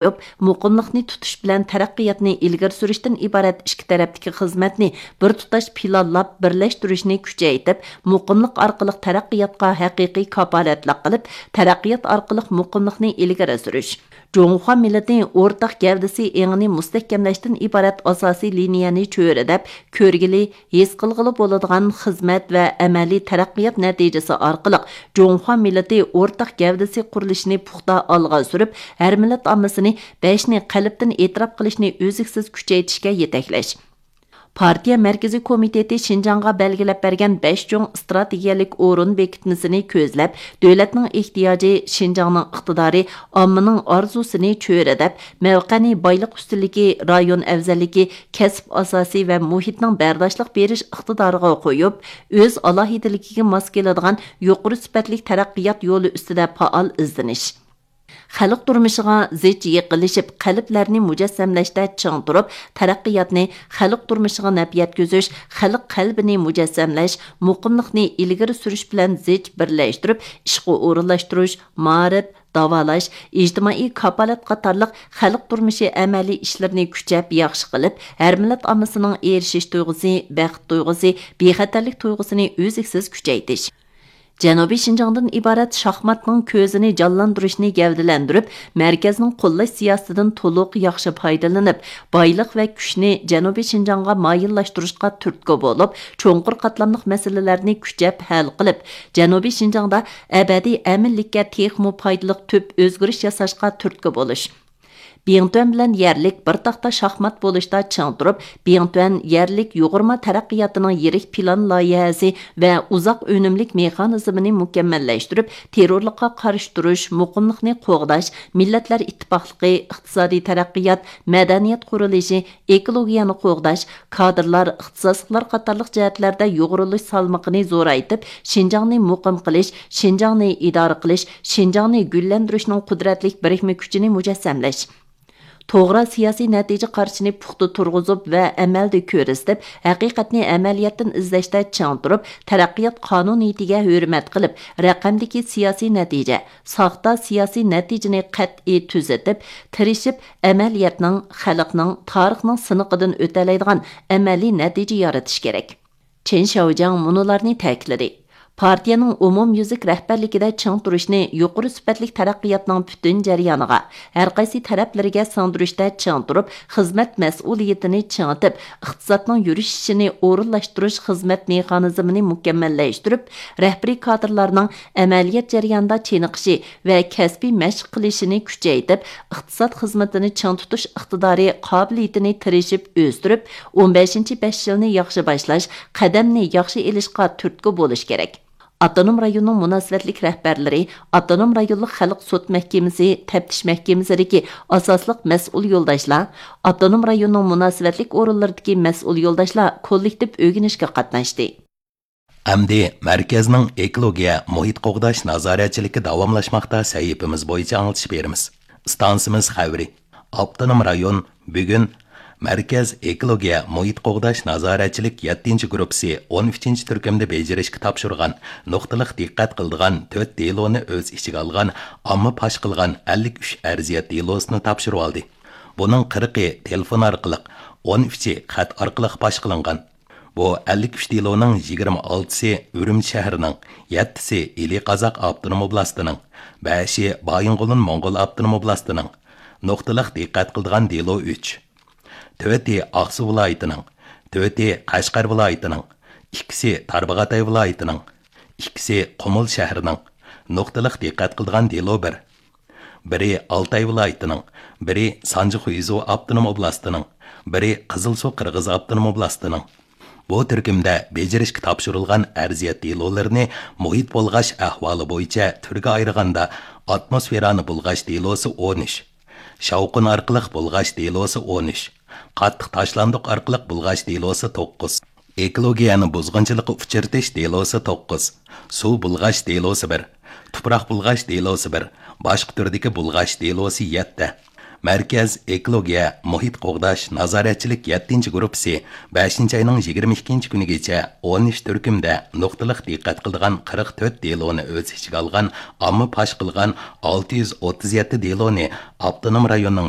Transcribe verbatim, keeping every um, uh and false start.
قويۇپ، مۇقىملىقنى تۇتۇش بىلەن تەرەققىياتنى ئىلگىرى سۈرۈشتىن ئىبارەت ئىككى تەرەپتىكى خىزمەتنى بىر تۇتاش پىلانلاپ بىرلەشتۈرۈشنى كۈچەيتىپ، مۇقىملىق ئارقىلىق تەرەققىياتقا ھەقىقىي كاپالەتلىك قىلىپ، تەرەققىيات ئارقىلىق مۇقىملىقنى ئىلگىرى سۈرۈش. جۇڭخۇا مىللىتى ئورتاق گەۋدىسى ئېڭىنى مۇستەھكەملەشتىن ئىبارەت ئاساسىي لىنىيەنى چۆرىدەپ، كۆرگىلى، ھېس قىلغىلى بولىدىغان خىزمەت ۋە ئەمەلىي تەرەققىيات نەتىجىسى ئارقىلىق جۇڭخۇا مىللىتى ئورتاق گەۋدىسى قۇرۇلۇشىنى پۇختا ئالغا سۈرۈپ، ھەر مىللەت ئاممىسىنى بەشنى قەلبتىن ئېتىراپ قىلىشنى ئۈزلۈكسىز كۈچەيتىشكە يېتەكلەش. پارتىيە مەركىزىي كومىتېتى شىنجاڭغا بەلگىلەپ بەرگەن بەش چوڭ ئىستراتېگىيەلىك ئورۇن بېكىتمىسىنى كۆزلەپ، دۆلەتنىڭ ئېھتىياجى، شىنجاڭنىڭ ئىقتىدارى، ئاممىنىڭ ئارزۇسىنى چۆرىدەپ، مەۋقەنى بايلىق ئۈستۈنلۈكى، رايون ئەۋزەللىكى، كەسىپ ئاساسى ۋە مۇھىتنىڭ بەرداشلىق بېرىش ئىقتىدارىغا قويۇپ، ئۆز ئالاھىدىلىكىگە ماس كېلىدىغان يۇقىرى سۈپەتلىك تەرەققىيات يولى ئۈستىدە پائال ئىزدىنىش. خەلق تۇرمۇشىغا زىچ يېقىنلىشىپ، قەلبلەرنى مۇجەسسەملەشتە چىڭ تۇرۇپ، تەرەققىياتنى خەلق تۇرمۇشىغا نەپ يەتكۈزۈش، خەلق قەلبىنى مۇجەسسەملەش، مۇقىملىقنى ئىلگىرى سۈرۈش بىلەن زىچ بىرلەشتۈرۈپ ئىشقا ئورۇنلاشتۇرۇش، مائارىپ، داۋالاش، ئىجتىمائىي كاپالەت قاتارلىق خەلق تۇرمۇشى ئەمەلىي ئىشلىرىنى كۈچەپ ياخشى قىلىپ، ھەر مىللەت ئاممىسىنىڭ ئېرىشىش تۇيغۇسى، بەخت تۇيغۇسى، بىخەتەرلىك تۇيغۇسىنى ئۈزلۈكسىز كۈچەيتىش. جەنۇبىي شىنجاڭدىن ئىبارەت شاھماتنىڭ كۆزىنى جانلاندۇرۇشنى گەۋدىلەندۈرۈپ، مەركەزنىڭ قوللاش سىياسىتىدىن تولۇق ياخشى پايدىلىنىپ، بايلىق ۋە كۈچنى جەنۇبىي شىنجاڭغا مايىللاشتۇرۇشقا تۈرتكە بولۇپ، چوڭقۇر قاتلاملىق مەسىلىلەرنى كۈچەپ ھەل قىلىپ، جەنۇبىي شىنجاڭدا ئەبەدىي ئەمىنلىككە تېخىمۇ پايدىلىق تۈپ ئۆزگىرىش ياساشقا تۈرتكە بولۇش. بىڭتۈەن بىلەن يەرلىك بىر تاختا شاھمات بولۇشتا چىڭ تۇرۇپ، بىڭتۈەن يەرلىك يۇغۇرما تەرەققىياتىنىڭ يىرىك پىلان لايىھەسى ۋە ئۇزاق ئۈنۈملۈك مېخانىزمىنى مۇكەممەللەشتۈرۈپ، تېررورلۇققا قارشى تۇرۇش، مۇقىملىقنى قوغداش، مىللەتلەر ئىتتىپاقلىقى، ئىقتىسادىي تەرەققىيات، مەدەنىيەت قۇرۇلۇشى، ئېكولوگىيەنى قوغداش، كادىرلار، ئىختىساسلىقلار قاتارلىق جەھەتلەردە يۇغۇرۇلۇش سالمىقىنى زورايتىپ، شىنجاڭنى مۇقىم قىلىش، شىنجاڭنى ئىدارە قىلىش، شىنجاڭنى گۈللەندۈرۈشنىڭ قۇدرەتلىك بىرىكمە كۈچىنى مۇجەسسەملەش. توغرا سىياسىي نەتىجە قارىشىنى پۇختا تۇرغۇزۇپ ۋە ئەمەلدە كۆرسىتىپ، ھەقىقەتنى ئەمەلىيەتتىن ئىزدەشتە چىڭ تۇرۇپ، تەرەققىيات قانۇنىيىتىگە ھۆرمەت قىلىپ، رەقەمدىكى سىياسىي نەتىجە، ساختا سىياسىي نەتىجىنى قەتئىي تۈزىتىپ، تىرىشىپ ئەمەلىيەتنىڭ، خەلقنىڭ، تارىخنىڭ سىنىقىدىن ئۆتەلەيدىغان ئەمەلىي نەتىجە يارىتىش كېرەك. چېن شياۋجياڭ مۇنۇلارنى تەكىتلىدى: پارتىيەنىڭ ئومۇميۈزلۈك رەھبەرلىكىدە چىڭ تۇرۇشنى يۇقىرى سۈپەتلىك تەرەققىياتنىڭ پۈتۈن جەريانىغا، ھەر قايسى تەرەپلىرىگە سىڭدۈرۈشتە چىڭ تۇرۇپ، خىزمەت مەسئۇلىيىتىنى چىڭىتىپ، ئىقتىسادنىڭ يۈرۈشۈشىنى ئورۇنلاشتۇرۇش خىزمەت مېخانىزمىنى مۇكەممەللەشتۈرۈپ، رەھبىرىي كادىرلارنىڭ ئەمەلىيەت جەريانىدا چېنىقىشى ۋە كەسپىي مەشىق قىلىشىنى كۈچەيتىپ، ئىقتىساد خىزمىتىنى چىڭ تۇتۇش ئىقتىدارى، قابىلىيىتىنى تىرىشىپ ئۆستۈرۈپ، ئون بەشىنچى بەش يىلنى ياخشى باشلاش، قەدەمنى ياخشى ئېلىشقا تۈرتكە بولۇش كېرەك. ئاپتونوم رايوننىڭ مۇناسىۋەتلىك رەھبەرلىرى، ئاپتونوم رايونلۇق خەلق سوت مەھكىمىسى، تەپتىش مەھكىمىسىدىكى ئاساسلىق مەسئۇل يولداشلار، ئاپتونوم رايوننىڭ مۇناسىۋەتلىك ئورۇنلىرىدىكى مەسئۇل يولداشلار كوللېكتىپ ئۆگىنىشكە قاتناشتى. ئەمدى مەركەزنىڭ ئېكولوگىيە مۇھىت قوغداش نازارەتچىلىكى داۋاملاشماقتا سەھىپىمىز بويىچە ئاڭلىتىش بېرىمىز. ئىستانسىمىز خەۋىرى. ئاپتونوم رايون بۈگۈن مەركەز ئېكولوگىيە مۇھىت قوغداش نازارەتچىلىك يەتتىنچى گۇرۇپپىسى ئون ئۈچىنچى تۈركۈمدە بېجىرىشكە تاپشۇرغان نۇقتىلىق دىققەت قىلىدىغان تۆت دېلونى ئۆز ئىچىگە ئالغان ئامما پاش قىلغان ئەللىك ئۈچ ئەرزىيەت دېلوسىنى تاپشۇرۇۋالدى. بۇنىڭ قىرىقى تېلېفون ئارقىلىق، ئون ئۈچى خەت ئارقىلىق پاش قىلىنغان. بۇ ئەللىك ئۈچ دېلونىڭ يىگىرمە ئالتىسى ئۈرۈمچى شەھىرىنىڭ، يەتتىسى ئىلى قازاق ئاپتونوم ئوبلاستىنىڭ، بەشى بايىنغولىن موڭغۇل ئاپتونوم ئوبلاستىنىڭ، نۇقتىلىق دىققەت قىلىدىغان دېلو ئۈچ، تۆتى ئاقسۇ ۋىلايىتىنىڭ، تۆتى قەشقەر ۋىلايىتىنىڭ، ئىككىسى تارباغاتاي ۋىلايىتىنىڭ، ئىككىسى قۇمۇل شەھىرىنىڭ، نۇقتىلىق دىققەت قىلىدىغان دېلو بىر، بىرى ئالتاي ۋىلايىتىنىڭ، بىرى سانجى خۇيزۇ ئاپتونوم ئوبلاستىنىڭ، بىرى قىزىلسۇ قىرغىز ئاپتونوم ئوبلاستىنىڭ. بۇ تۈركۈمدە بېجىرىشكە تاپشۇرۇلغان ئەرزىيەت دېلولىرىنى مۇھىت بۇلغاش ئەھۋالى بويىچە تۈرگە ئايرىغاندا، ئاتموسفېرانى بۇلغاش دېلوسى ئون ئۈچ، شاۋقۇن ئارقىلىق بۇلغاش دېلوسى ئون ئۈچ، قاتتىق تاشلاندۇق ئارقىلىق بۇلغاش دېلوسى توققۇز، ئېكولوگىيەنى بۇزغۇنچىلىققا ئۇچرىتىش دېلوسى توققۇز، سۇ بۇلغاش دېلوسى بىر، تۇپراق بۇلغاش دېلوسى بىر، باشقا تۈردىكى بۇلغاش دېلوسى يەتتە، مەركەز ئېكولوگىيە، مۇھىت قوغداش نازارەتچىلىك يەتتىنچى گۇرۇپپىسى بەشىنچى ئاينىڭ يىگىرمە ئىككىنچى كۈنىگىچە ئون ئۈچ تۈركۈمدە نۇقتىلىق دىققەت قىلىدىغان قىرىق تۆت دېلونى ئۆز ئىچىگە ئالغان ئامما پاش قىلغان ئالتە يۈز ئوتتۇز يەتتە دېلونى ئاپتونوم رايوننىڭ